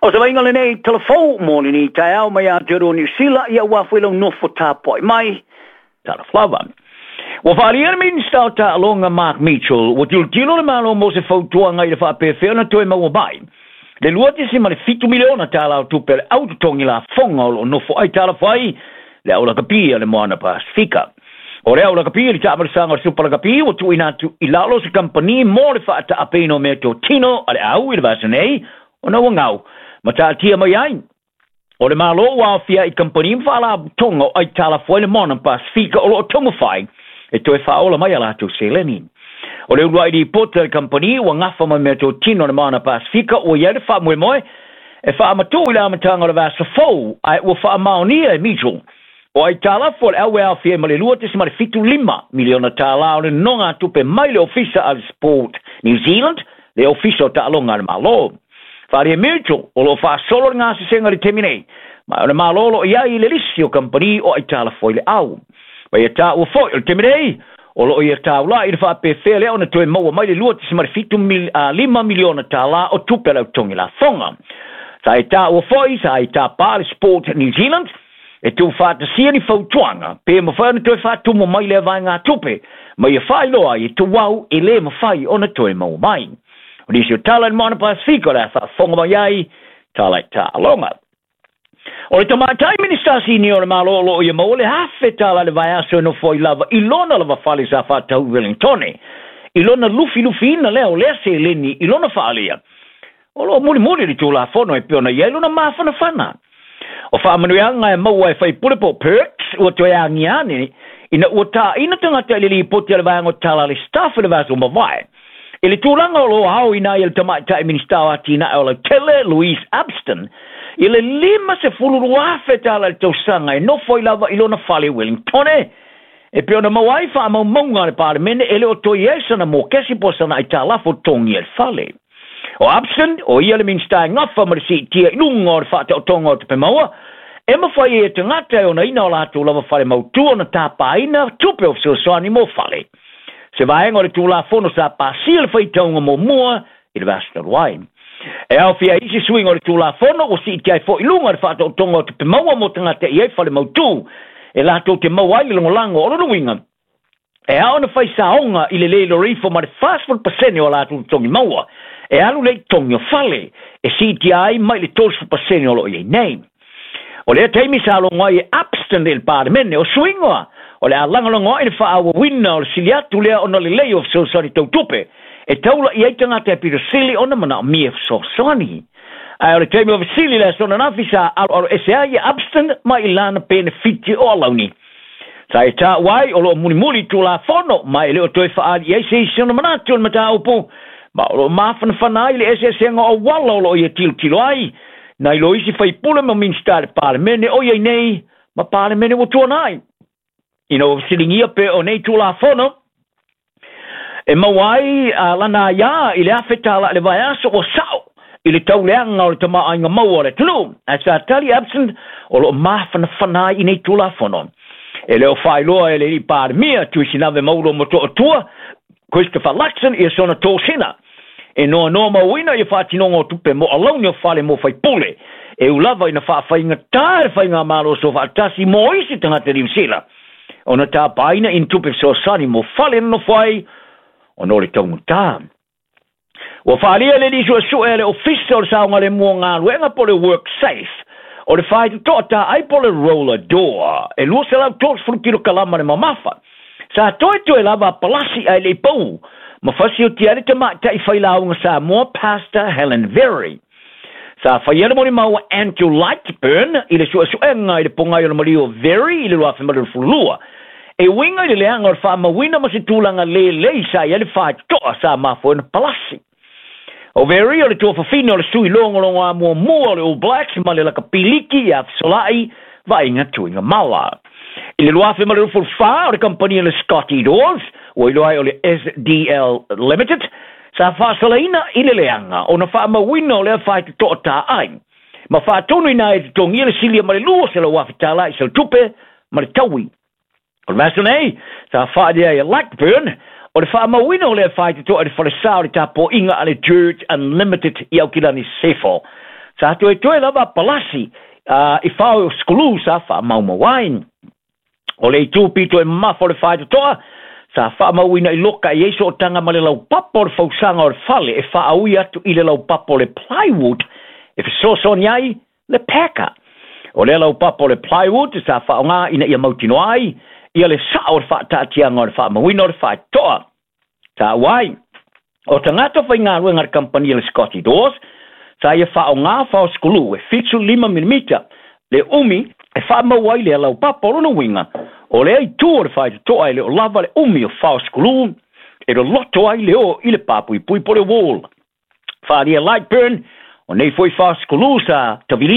O se vaaiga lenei talavou mo lenei taeao mai Aotearoa Niu Sila, ia aua foi lau nofo tapuai mai. Talofa lava. Ua faaalia le Minisita o Taaloga Mark Mitchell, ua tilotilo le Malo mo se fautuaga i le faapefea ona toe maua mai le $2.7 miliona tala o tupe a le au totogi lafoga o lo o nofo aitalafu ai le au lakapi a le Moana Pasifika. O le au lakapi i le taamalosaga o le Supa Lakapi ua tuuina atu i lalo o se kamupani mo le faataapeina o meatotino a le au i le vaiaso nei ona ua gau ma taatia mai ai o le Malo ua aofia i kamupani ma faalapotopotoga o aitalafu ai le Moana Pasifika o lo o taumafai e toe faaola mai a latou seleni. O le uluai lipoti a le kamupani ua gafa ma meatotino a le Moana Pasifika ua i ai le faamoemoe e faamatuu i le amataga o le vaiaso fou, ae ua faamaonia e Mitchell o aitalafu a le au e aofia ai ma le $2.75 miliona tala o le nonogatupe mai le Ofisa a le Sport New Zealand, le Ofisa o Taaloga a le Malo. Faaalia Mitchell o lo o faasolo le gasesega i le taimi nei, ma o le Malo o lo o i ai i le lisi o kamupani o aitalafu ai le au. Ma ia taua foi o le taimi nei, o lo o ia taulai i le faapefea lea ona toe maua mai le $2.75 miliona tala o tupe a le au totogi lafoga. Sa e taua foi, sa e tapa le Sport New Zealand e tuufaatasia ni fautuaga pe mafai ona toe faatumu mai lea vaegatupe ma ia faailoa ai e tuau e le mafai ona toe maua mai. O nisi o tala i le Moana Pasifika o le a faafofoga mai ai tala i taaloga. O le tamaitai Minisita Sinia o le Malo o lo o ia maua le $1,000 i le vaiaso e nofo ai lava i lona lava fale sa faatau i Wellingtone. I lona lufilufiina lea o lea seleni i lona faaalia, o lo o mulimuli le Tulafono e pei ona i ai lona mafanafana. O faamanuiaga e maua e faipule po o perks ua toe agia ane ina ua taina tagata i le lipoti a le vaega o tala a le staff i le vaiaso ua mavae. I le tulaga o lo o aoina ai e le tamaitai Minisita o Atinae o Lautele, Louise Upston, i le $52,000 i le tausaga e nofo ai lava i lona fale i Wellingtone, e pei ona maua ai faamaumauga a le Palemene e le o toe i ai sana mokesi po o sana aitalafu o totogi ai le fale. O Upston, o ia le Minisita e gafa ma le siitia i luga o le faataotoga o tupe maua, e mafai ai e tagata e onaina o latou lava fale mautu ona tapaina tupe o fesoasoani mo fale. Se vaega o le Tulafono sa pasia le faitauga muamua i le vaiaso talu ai. E aofia ai isi suiga o le Tulafono ua siitia ai foi i luga le faataotoga o tupe maua mo tagata e i ai fale mautu e latou te maua ai le lagolago o lona uiga e ao ona fai saoga i le le iloa ifo ma le 40% o a latou totogi maua e alu lea i totogi o fale e siitia ai mai le 30% o lo o i ai nei. O lea taimi sa logo ai e Upston i le Palemene, o suiga o le a lagolago ai le faaauauina o le sili atu lea ona lelei o fesoasoani tau tupe e taula i ai tagata e pito sili ona manaomia fesoasoani. Ae o le taimi o fesili i le aso ananafi sa aloaloese ai e Upston mai i lana penefiti o alauni. Sa e taua ai o lo o mulimuli Tulafono ma e le o toe faaali i ai se isi ona manatu o le mataupu, ma o lo o mafanafana ai le eseesega o auala o lo o ia tilotilo ai nai lo isi faipule ma Minisita i le Palemene o i ai nei ma Palemene ua tuanai. Ina ua fesiligia pe o nei Tulafono e maua ai a lana aiā i le $1,000 i le vaiaso ua sao i le tauleaga o le tamaoaiga maua o le atunuu, ae sa tali Upston o lo o mafanafana ai i nei Tulafono. E le o faailoa e le alii Palemia Tuisinave Maulo Motootua Christopher Luxon ia sona tosina e noanoa mauina ia faatinoga o tupe mo alauni o fale mo faipule e u lava ina faafaigata le faigamalo soofaatasi mo isi tagata Niu Sila ona tapaina i ni tupe fesoasoani mo fale nonofo ai ona o le taugata. Ua faaalia le alii suesue a le Ofisa o le Saogalemu o Galuega po o le WorkSafe o le faitotoa taai po o le roller door e 230 kilokalama le mamafa. Sa toetoe lava a palasi ae le i pau ma fasiotia ai le tamaitai failauga Samoa Pastor Helen Very. Sa faia le molimau a Andrew Lightburn i le suesuega i le pogai o le maliu o Very i le 2022, e uiga i le leaga o le faamauina ma se tulaga lelei sa i ai le faitotoa sa mafua ai ona palasi. O Very o le tuafafine o le sui logologoa muamua o le All Blacks ma le lakapi liki ia Fesolai Vaaiga Tuigamala. I le 2024, o le kamupani a le Scotty Doors, ua iloa ai o le SDL Limited, sa faasalaina i le leaga ona faamauina o lea faitotoa taai ma faatonuina ai e totogia le silia ma le $200,000 i saletupe ma le taui. O le vaiaso nei, sa faaalia ai e Lightburn o le faamauina o lea faitotoa i le falesa o le tapuaiga a le Church Unlimited i Aukilani Sefo. Sa toetoe lava palasi i fao o skulu sa faamaumau ai. O le itu pito e mamafa o le faitotoa sa faamauina i loka e i ai sootaga ma le laupapa o le fausaga o le fale e faaui atu i le laupapa o le plywood e fesoasoani ai le peka. O lea laupapa o le plywood sa faaaoga ina ia mautinoa ai ia le sao o le faataatiaga o le faamauina o le faitotoa. Sa ua ai o tagata faigaluega a le kamupani a le Scotty Doors sa ia faaaoga fao skulu e 75 milimita le umi e faamau ai le laupapa. O lona uiga, o lea itu o le faitotoa e le o lava le umi o fao skulu e loloto ai le o i le papuipui po le wall. Faaalia Lightburn, o nei foi fao skulu sa tavili.